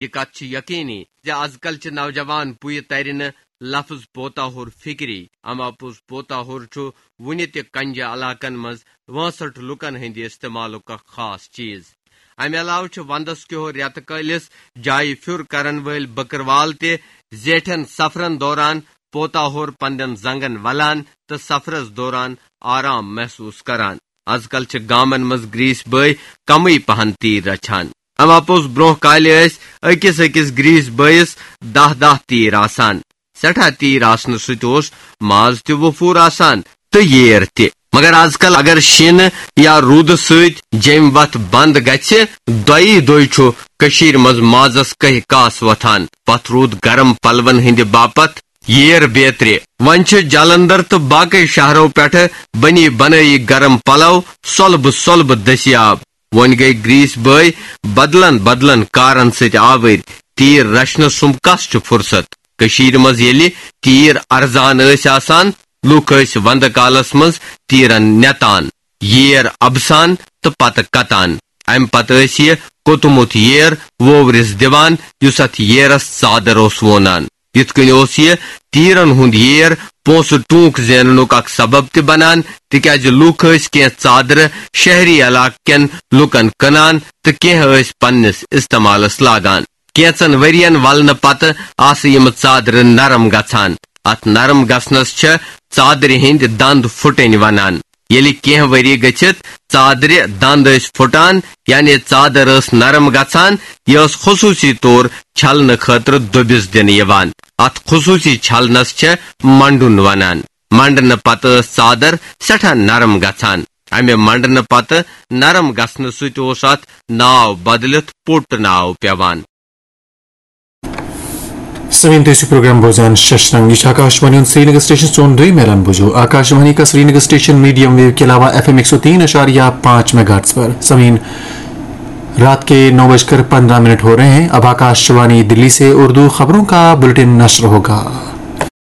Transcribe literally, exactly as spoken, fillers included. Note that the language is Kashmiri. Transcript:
یہِ کتھ چھِ یقینی زِ از کل چھِ نوجوان پُیہِ ترِ نہٕ لفظ پوتاہُر فکری، اما پوٚز پوتاہُر چھُ وُنہِ تہِ کنجہِ علاقن منٛز وٲنٛسٹھ لُکن ہٕنٛدِ استعمالُک اکھ خاص چیز۔ امہِ علاوٕ چھِ ونٛدس کیو رٮ۪تہٕ کٲلِس جایہِ پھیُر کرن وٲلۍ بکروال تہِ زیٹھٮ۪ن سفرن دوران پوتاہُر پنٛنٮ۪ن زنٛگن ولان تہٕ سفرس دوران آرام محسوس کران۔ از کل چھِ گامن منٛز گریٖسۍ بٲے کمٕے پہن تیٖر رچھان۔ اما پوٚز برونٛہہ کالہِ ٲسۍ أکِس أکِس گریٖسۍ بٲیِس دَہ دَہ تیٖر آسان۔ سٮ۪ٹھاہ تیٖر آسنہٕ سۭتۍ اوس ماز تہِ وفوٗر آسان تہٕ ییر تہِ۔ مگر از کل اگر شیٖنہٕ یا روٗدٕ سۭتۍ جیٚمۍ وتھ بنٛد گژھِ، دۄیی دۄہہِ چھُ کٔشیٖرِ منٛز مازس کہہِ کاس وۄتھان۔ پتھ روٗد گرم پلون ہٕنٛدِ باپتھ ییر بیترِ۔ وۄنۍ چھِ جلندر تہٕ باقٕے شہرو پٮ۪ٹھٕ بنی بنٲیی گرم پلو سۄلبہٕ سۄلبہٕ دٔستیاب۔ وۄنۍ گٔے گریٖسۍ بٲے بدلن بدلن کارن سۭتۍ آوٕرۍ۔ تیٖر رچھنس سُم کس چھُ فرصت؟ کٔشیٖرِ منٛز ییٚلہِ تیٖر ارزان ٲسۍ آسان، لوٗکھ ٲسۍ ونٛدٕ کالس منٛز تیٖرن نٮ۪تان، ییر اَبسان تہٕ پتہٕ کتان۔ امہِ پتہٕ ٲسۍ یہِ کوٚتمُت ییر ووورِس دِوان، یُس اتھ ییرس ژادر اوس وونان۔ یِتھ کٔنۍ اوس یہِ تیٖرن ہُنٛد ییر پونٛسہٕ ٹوٗنٛک زیننُک اکھ سبب تہِ بنان، تِکیازِ لوٗکھ ٲسۍ کینٛہہ ژادرٕ شہری علاقہٕ کٮ۪ن لوٗکن کٕنان تہٕ کینٛہہ ٲسۍ پننِس استعمالس لاگان۔ کینٛژن ؤرین ولنہٕ پتہٕ آسہٕ یِم ژادرٕ نرم گژھان۔ اتھ نرم گژھنس چھِ ژادرِ ہٕنٛدۍ دند پھُٹٕنۍ ونان۔ ییٚلہِ کینٛہہ ؤری گٔژھِتھ ژادرِ دند ٲسۍ پھُٹان، یعنی ژادر ٲس نرم گژھان، یہِ ٲس خصوٗصی طور چھلنہٕ خٲطرٕ دٔبِس دِنہٕ یِوان۔ اتھ خصوٗصی چھلنس چھےٚ منڈُن ونان۔ منڈنہٕ پتہٕ ٲس ژادر سٮ۪ٹھاہ نرم گژھان۔ امہِ منڈنہٕ پتہٕ نرم گژھنہٕ سۭتۍ اوس اتھ ناو بدلِتھ پوٚٹ ناو پٮ۪وان۔ سوین تُہۍ ٲسِو پروگرام بوزان ششرنگ۔ یہِ چھُ آکاش وانی ہُنٛد سرینگر سٹیشن۔ سون دوٚیِم اعلان بوٗزِو۔ آکاش وانی کا سرینگر سٹیشن میڈیم ویو کے علاوہ ایف ایم ایک سو تین اشاریہ پانچ میگا ہرٹز پر۔ سوین، رات کے نو بج کر پندرہ منٹ ہو رہے ہیں۔ اب آکاش وانی دلی سے اردو خبروں کا بلٹن نشر ہوگا۔